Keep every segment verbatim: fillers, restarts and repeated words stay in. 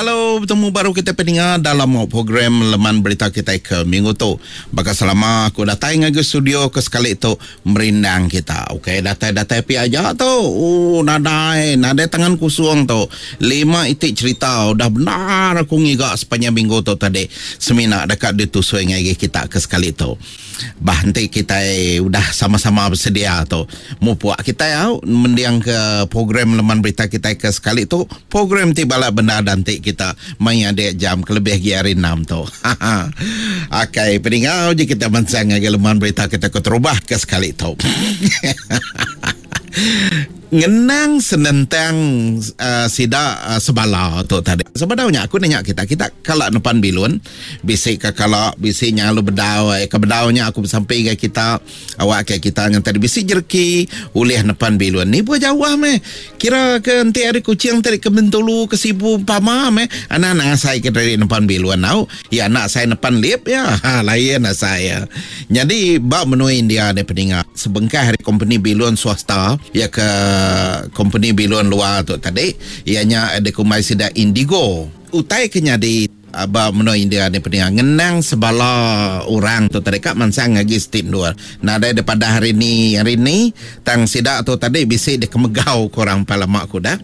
Hello, betemu baru kita peninga dalam program Leman Berita kita ke minggu tu. Baka selama aku datai ngagai studio ke sekali tu merindang kita. Okey, datai-datai pi aja tu. Oh, nadai, nadai tangan kosong tu. Lima itik cerita udah benar aku ngiga sepanjang minggu tu tadi. Semina dekat ditusui ngagai kita ke sekali tu. Bah nanti kita udah sama-sama bersedia tu. Mupuak kita au mendiang ke program Leman Berita kita ke sekali tu. Program ti balak benda dan ti kita main adik jam kelebih gi hari enam tu. Okey, peninga je kita mansang ngagai Leman Berita kita ke terubah ke sekali tu. Ngenang senentang uh, sida uh, sebala tu tadi. Sebenarnya aku nanya kita, kita kalau nepan bilun, bisik ke kalau bisik nyalu bedau, eh, ke bedaunya aku sampai ke kita, awak ke kita yang tadi bisik jerki ulih nepan bilun. Ni pun jauh meh. Kira ke nanti hari Kuching tadi ke Bintulu ke Sibu pama meh. Anak-anak saya ke dari nepan bilun tau. Ya anak saya nepan lip ya. Ha, lain lah saya. Jadi bab menua India ni peningat. Sebengkah hari company bilun swasta ya ke company bilun luar tu tadi ianya ada kumai sida Indigo. Utai kenya di aba menua India ni peningat ngenang sebala orang tu tadi kak mansang lagi stip dua. Nadai daripada hari ni hari ni tang sida tu tadi bisi di kemegau korang palamak kuda.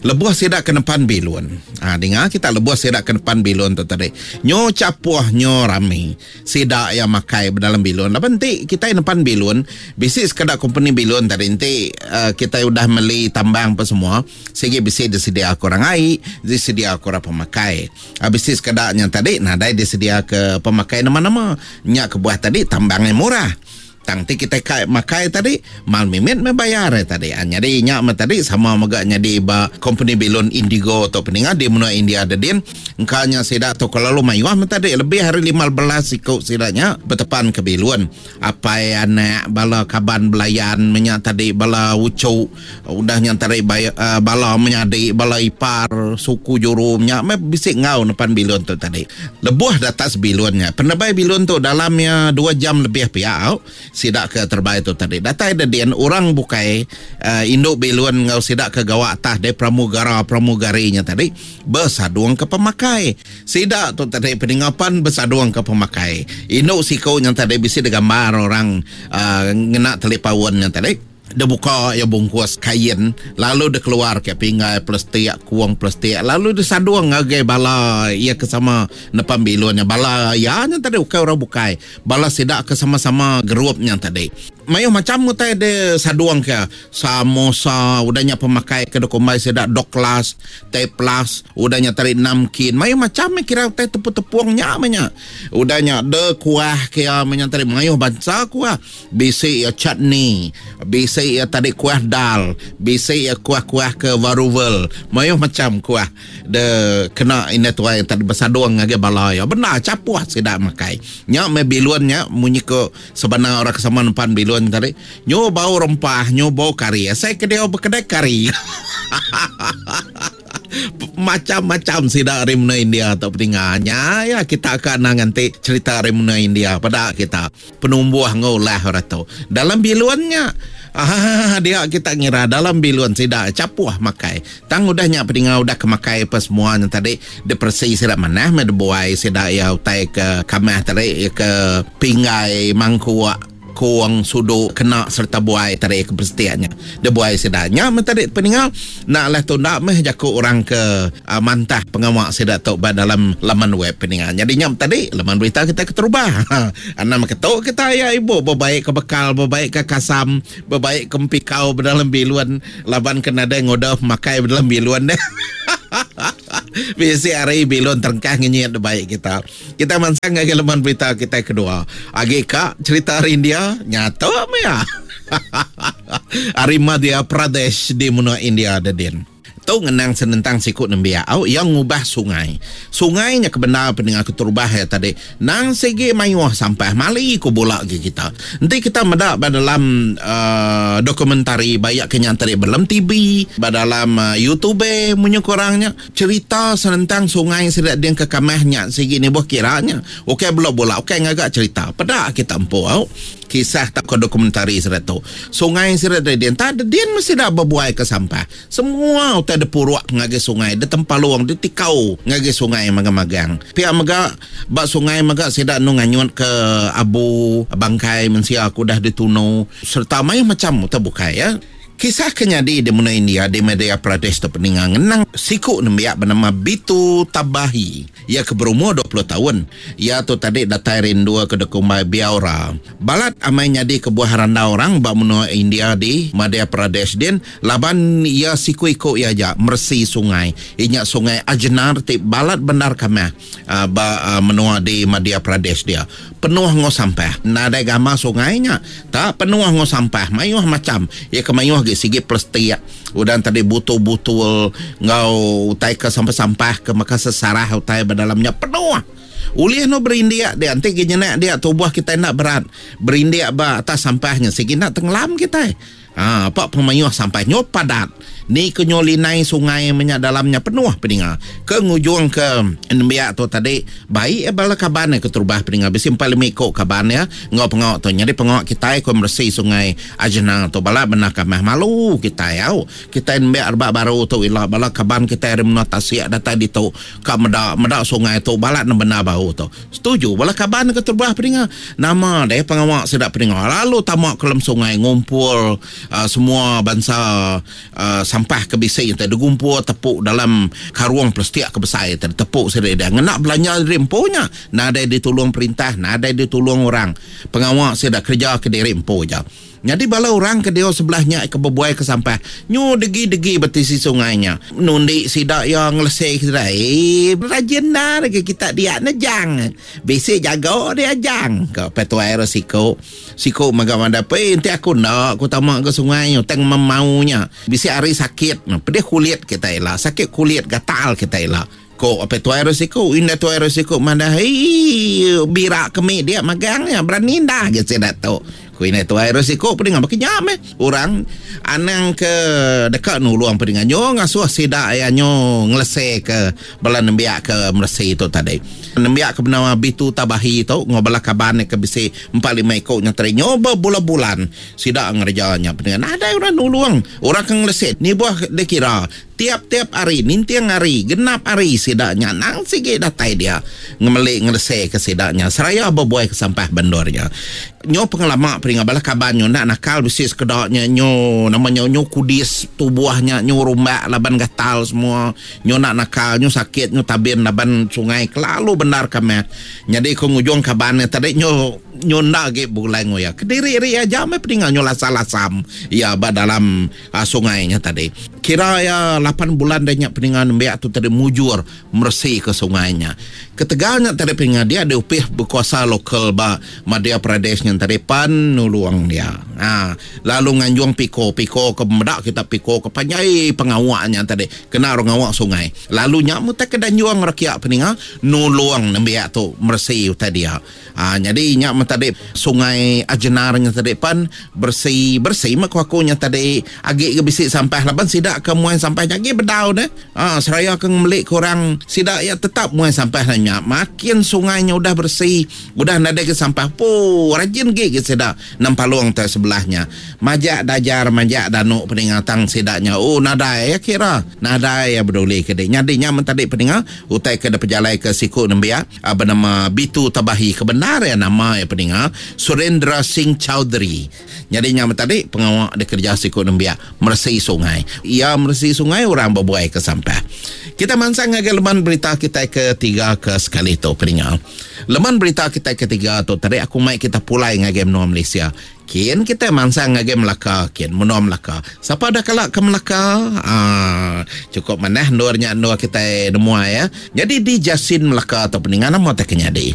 Lebuh sida ke depan bilun. Ha, dengar kita lebuh sida ke depan bilun tu tadi. Nyo capuh nyo rami. Sida yang makai dalam bilun. Lapan nanti kita depan bilun, bisi sekadar company bilun tadi nanti uh, kita udah meli tambang apa semua, segi bisi disedia korang air, disedia korang pemakai. Ha, bisi sekadarnya tadi nadai disedia ke pemakai nama-nama. Nyak kebuah tadi tambangnya murah. Tang ti kita kai makai tadi mal mimit me bayar eh, tadi. Ah, jadi nyak me tadi sama megak nyadi ba company bilun Indigo atau peningat di menua India ada din. Engkanya sida tu kalau mayuah me tadi lebih hari lima belas ikut sidanya bertepan ke bilun. Apai anak bala kaban belayan menyak tadi bala ucu udah nyak tadi bay, uh, bala menyadi bala ipar suku juru menyak me bisik ngau depan bilun tu tadi. Lebuh datas bilunnya. Penebai bilun tu dalamnya dua jam lebih pihak sidak ke terbaik tu tadi. Datai dedian orang bukai uh, induk bilun ngau sidak ke gawak atas de pramugara pramugarinya tadi bersaduang ke pemakai. Sidak tu tadi peningapan bersaduang ke pemakai. Induk siko yang tadi bisi de gambar orang uh, ngena talipawan yang tadi. Dia buka ya bungkus kain lalu dia keluar ke pinggai plastik kuang plastik lalu dia saduang ngagai bala ia ke sama depan bilunnya bala ya yang tadi bukan orang bukai bala sidak ke sama-sama gerupnya tadi mayu macam mutai dia saduang ke samosa udahnya pemakai ke dokumai sidak doklas teplas udahnya tadi namkin mayu macam kira utai tepung-tepungnya menya udahnya de kuah ke menya tadi mayu bangsa kuah bisi ya chutney bisi ya tadi kuah dal, bisi ya kuah-kuah ke varuval, mayuh macam kuah de kena ini tuai yang tadi bersaduang ngagai bala ya. Benar capuh sidak makai. Nyak me bilunnya munyi ke sebenar orang kesama nempan bilun tadi. Nyo bau rempah, nyo bau kari. Saya ke dia berkedai kari. Macam-macam sidak dari menua India atau peninggalnya ya kita akan nanti cerita dari menua India pada kita penumbuh ngolah orang tu dalam biluannya. Ah, dia kita ngira dalam biluan sidak capuh makai. Tang udahnya peninggal udah kemakai apa semua yang tadi depresi sidak manah me buai sidak ya utai ke kamah tadi ke pinggai mangkuak kuang suduk kena serta buai tadi ke persetianya. Dia buai sedaknya tadi peninggal nak lah tu nak meh jaku orang ke uh, mantah pengawak sedak tu dalam laman web peninggal. Jadi nyam tadi laman berita kita keterubah. Anam ketuk kita ya ibu berbaik ke bekal, berbaik ke kasam, berbaik ke empikau dalam biluan laban kena ada ngodah makai dalam biluan deh. Bisi hari bilun terengkah ngenyit baik kita. Kita mansang ngagi laman berita kita kedua. Agi kak cerita hari India nyata ya. Hari Madhya Pradesh di menua India ada din. Tu ngenang senentang sikut nembiak au yang ngubah sungai. Sungainya kebenar pendengar keterubah ya tadi. Nang segi mayuh sampah mali ku bolak ke kita. Nanti kita medak dalam uh, dokumentari banyak kenyan tadi dalam T V, dalam uh, YouTube munyo kurangnya cerita senentang sungai sedak dia ke kamahnya segi ni buah kiranya. Okey belok bola, okey ngagak cerita. Pedak kita empu au. Kisah tak ke dokumentari sedak tu. Sungai sedak dia tak dia mesti dak berbuai ke sampah. Semua utai utai depuruk ngagai sungai, ditempalung, ditikau ngagai sungai magang-magang. Pia mega ba sungai mega sida nu nganyut ke abu bangkai mensia aku dah ditunu serta mayuh macam utai bukai ya. Kisah ke nyadi di menua India di Madhya Pradesh tu peninga ngenang siku nembiak bernama Bitu Tabahi. Ia ke berumur dua puluh tahun. Ia tu tadi datai rindu ke dekumbai Biaura. Balat amai nyadi ke buah randau orang ba menua India di Madhya Pradesh din laban ia siku iku ia aja meresi sungai. Inya sungai Ajnar ti balat bendar kamah uh, ba uh, menua di Madhya Pradesh dia. Penuh ngau sampah. Nadai gama sungainya. Tak penuh ngau sampah. Mayuh macam. Ia ke mayuh gi sigi plastik. Udah tadi butul-butul ngau utai ke sampah-sampah ke maka sesarah utai berdalamnya penuh. Ulih no berindik dia nanti gi nyenak dia tubuh kita nak berat. Berindik ba atas sampahnya sigi nak tenggelam kita. Ha, pak pemayuh sampah nyo padat. Ni ke nyo linai sungai minyak dalamnya penuh peninga. Ke ngujung ke nembiak tu tadi baik bala kaban ke terubah peninga bisi empat lima ikok kaban ya ngau pengok tu. Jadi pengok kita ko meresi sungai Ajna tu bala benar kamah malu kita au. Kita nembiak rebak baru tu ila bala kaban kita ari menua tasik datai ditu ka meda meda sungai tu balat benar bau tu. Setuju bala kaban ke terubah peninga. Nama deh pengawak sedak peninga lalu tamak ke dalam sungai ngumpul Uh, semua bangsa uh, sampah ke bisik yang tadi gumpul tepuk dalam karung plastik ke besar yang tadi tepuk sendiri dia ngenak belanja diri empunya nadai ditolong perintah nadai ditolong orang pengawak saya dah kerja ke diri empu je. Jadi bala orang ke dia sebelahnya ke berbuai ke sampah nyu degi-degi bertisi sungainya nundi sidak yang ngelesek sida eh rajin dah lagi kita dia nejang bisik jago dia jang ke petua air siko siko maga manda pe enti aku nak aku tamak ke sungai teng memaunya bisik hari sakit pedih kulit kita ila sakit kulit gatal kita ila ko apa tu air siko inda tu air siko manda hei birak kemi dia magangnya berani dah ge sida tu. Kuina tu air siko pedingan baki nyam eh. Orang anang ke dekat nulung pedingan nyo ngasuh sida ya nyo ngelese ke bala nembiak ke meresi tu tadi. Nembiak ke bernama Bitu Tabahi tu ngobala kaban ke bisi empat lima ikok nya tadi nyo berbulan-bulan sida ngerjanya pedingan ada orang nulung orang ke ngelese ni buah dikira tiap-tiap hari nintiang hari genap hari sidaknya nang sigi datai dia ngemelik ngelese ke sidaknya seraya berbuai ke sampah bendornya nyo pengelama peringa bala kaban nyo nak nakal bisi sekedaknya nyo namanya nyo kudis tubuhnya nyo rumbak laban gatal semua nyo nak nakal nyo sakit nyo tabin laban sungai kelalu benar kami jadi ko ngujung kabannya tadi nyo nyo nak ge bulai ngoya kediri ri aja me peringa nyo lasam-lasam ya ba dalam uh, sungainya tadi kira ya lapan bulan dah nyak peningan nembiak tu tadi mujur meresi ke sungainya. Ketegalnya tadi peningan dia ada upih berkuasa lokal ba Madhya Pradesh yang tadi pan nuluang dia. Ha, lalu nganjuang piko piko ke medak kita piko ke panjai pengawaknya tadi kena orang awak sungai. Lalu nyak mutak ke danjuang rakyat peningan nuluang nembiak tu meresi tadi dia. Ha, jadi nyak tadi sungai Ajnarnya tadi pan bersih bersih mak aku nya tadi agik ke bisik sampah laban sidak ke muai sampah lagi bedau deh. Ah, seraya ke ngemelik korang sidak ya tetap muai sampah nanya. Makin sungainya udah bersih, udah nadai ke sampah po rajin ge ke sidak nampalung te sebelahnya. Majak dajar majak danuk peningatang sidaknya. Oh nadai ya kira. Nadai ya beduli ke dek. Nyadinya mentadi peningat utai ke pejalai ke siku nembiak bernama Bitu Tabahi kebenar ya nama ya peningat Surendra Singh Chaudhary. Nyadinya mentadi pengawak de kerja siku nembiak meresi sungai. Ia meresi sungai orang berbuai ke sampah. Kita mansang ngagai leman berita kita ketiga ke sekali tu peningat. Leman berita kita ketiga tu tadi aku mai kita pulai ngagai menua Malaysia. Kian kita mansang ngagai Melaka, kian menua Melaka. Siapa dah kalak ke Melaka? Ah, cukup manah nurnya nur kita nemua ya. Jadi di Jasin Melaka atau peningan nama tak kenyadi.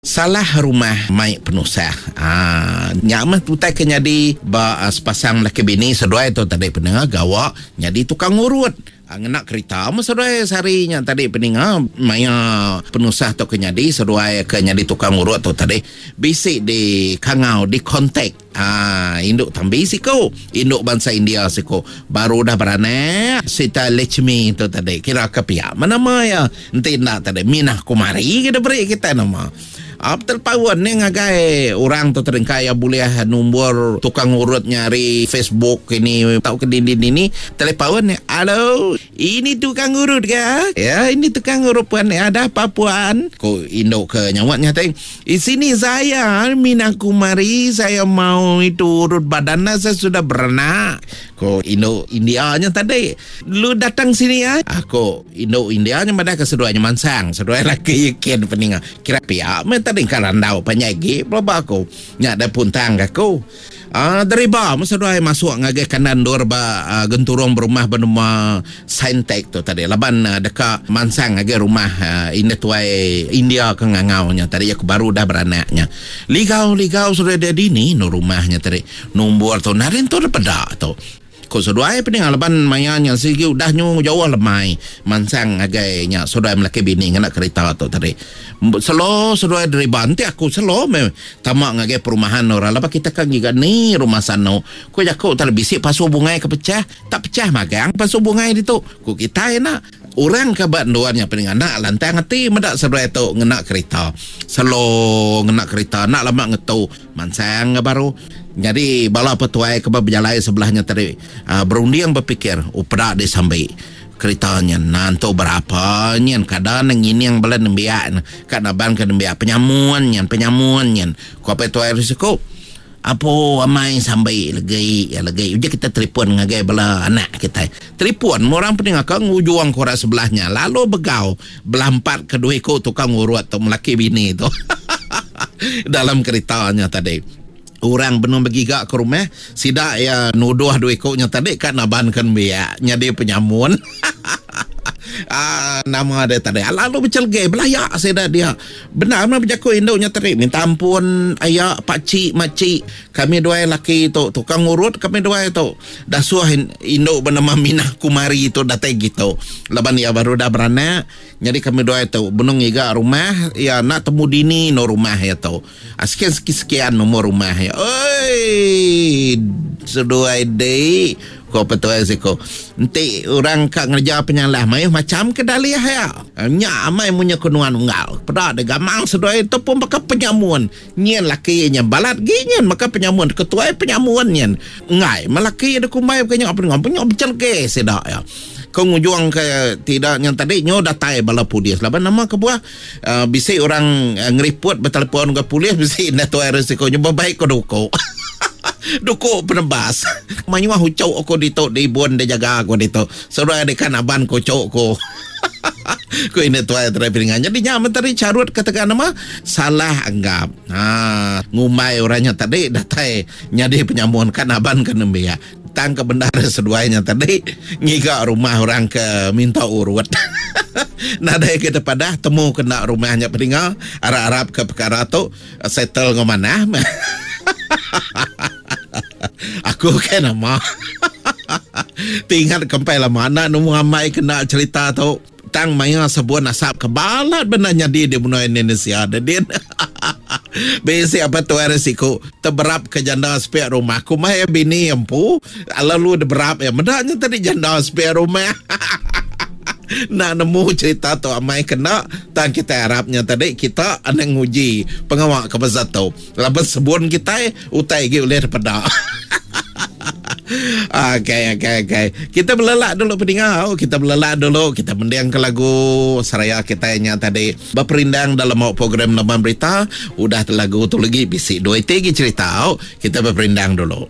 Salah rumah mai penusah. Ah, nyak mah utai ke nyadi ba uh, sepasang laki bini seduai tu tadi pendengar gawak nyadi tukang urut. Ah, ngenak kereta mah seduai seharinya tadi pendengar maya penusah tu ke nyadi seduai ke nyadi tukang urut tu tadi bisik di kangau di kontak. Ah, induk tambi siko, induk bangsa India siko. Baru dah beranak Sita Lechmi tu tadi kira ke pihak mana ya enti nak tadi Minah Kumari kita beri kita nama. Apa terpawan ni ngagai orang tu teringkai ya boleh nombor tukang urut nyari Facebook ini tahu ke dinding ini telepawan ni halo Ini tukang urut ke? Ya, ini tukang urut puan. Ada apa puan? Ko induk ke nyawatnya tadi. Di sini saya Mina Kumari, saya mau itu urut badan saya sudah beranak. Ko induk Indianya tadi. Lu datang sini ya. Aku induk Indianya madah ke seduanya mansang. Seduai laki yakin peninga. Kira pihak me tadi karandau penyagi pelaba aku. Nyak ada puntang aku. Ah, deriba masa dua masuk ngagai kanan dor ba uh, genturung berumah bernama Saintek tu tadi. Laban uh, dekat mansang ngagai rumah uh, India tuai India ke ngangaunya tadi aku baru dah beranaknya. Ligau-ligau sudah dia dini no rumahnya tadi. Nombor tu narin tu pedak tu. Ko seduai pening laban mayanya sigi udah nyu jauh lemai mansang ngagai nya seduai melaki bini ngena kereta tu tadi. Selo seduai deriba nanti aku selo me tamak ngagai perumahan orang lepas kita kan giga ni rumah sano. Ko jakuk tadi bisik pasu bungai ke pecah, tak pecah magang pasu bungai ditu. Ko kita enak orang ke banduannya pening anak lantang hati medak seduai tu ngena kereta. Selo ngena kereta nak lama ngetu mansang baru. Jadi bala petuai ke berjalai sebelahnya tadi uh, berunding berfikir oh pedak di sampai keretanya nanto berapa nyen kadang ngining bala nembiak kat naban ke nembiak penyamun nyen penyamun nyen ku apa tuai risiko apa amai sampai legi ya legi uji kita telefon ngagai bala anak kita telefon orang pening akang ujuang korak sebelahnya lalu begau belampat ke dua ikut tukang urut tu melaki bini tu dalam keretanya tadi. Orang belum bergigak ke rumah sidak ya nuduh dua ikutnya tadi kan nabankan biak nyadi penyamun. Ah, nama dia tadi lalu bercelge belayak sidak dia benar benar berjaku induknya tadi minta ampun ayak pakcik makcik kami dua laki tu tukang urut kami dua tu dah suah induk bernama Minah Kumari tu datang gitu laban dia baru dah beranak jadi kami dua tu benung iga rumah ya nak temu dini no rumah ya tu sekian sekian nomor rumah ya oi seduai dei ko petuai siko enti orang kak ngerja penyalah mayuh macam ke daliah ya nya amai munya kunuan unggal pedak de gamang seduai tu pun maka penyamun nyen laki nya balat gi nyen maka penyamun ketuai penyamun nyen ngai melaki de kumbai kenya apa ngam punya becelke sedak ya ko ngujuang ke tidak yang tadi nyo datai bala polis laban nama kebuah uh, bisi orang uh, ngeriput bertelefon ke polis bisi na tuai risiko nyo baik ko duko duko penebas manyuah hucau aku dito di bon dia jaga aku dito sudah ada kan aban ko cok ko ku ini tuai terpingan jadi nyaman tadi carut katakan nama salah anggap ha ngumai orangnya tadi datai nyadi penyamun kan aban ke nembiak tang ke bendara seduainya tadi ngiga rumah orang ke minta urut. Nadai kita padah temu kena rumahnya peninga arab-arab ke perkara tu settle ngomanah. Aku kan nama tinggal kempai lama anak nemu amai kena cerita tu tang maya sebuah nasab kebalat benar nyadi di benua Indonesia dia. Besi apa tu risiko terberap ke janda sepiak rumah aku mah bini empu lalu berap ya medaknya tadi janda sepiak rumah. Nak nemu cerita tu amai kena tang kita harapnya tadi kita anang nguji pengawak ke pasal tu laban sebun kita utai gi ulih daripada. Okey okey okey. Kita berlelak dulu pendengar. Kita berlelak dulu, kita mendiang ke lagu seraya kita nya tadi berperindang dalam program Leman Berita. Udah lagu tu lagi bisik dua tiga cerita. Kita berperindang dulu.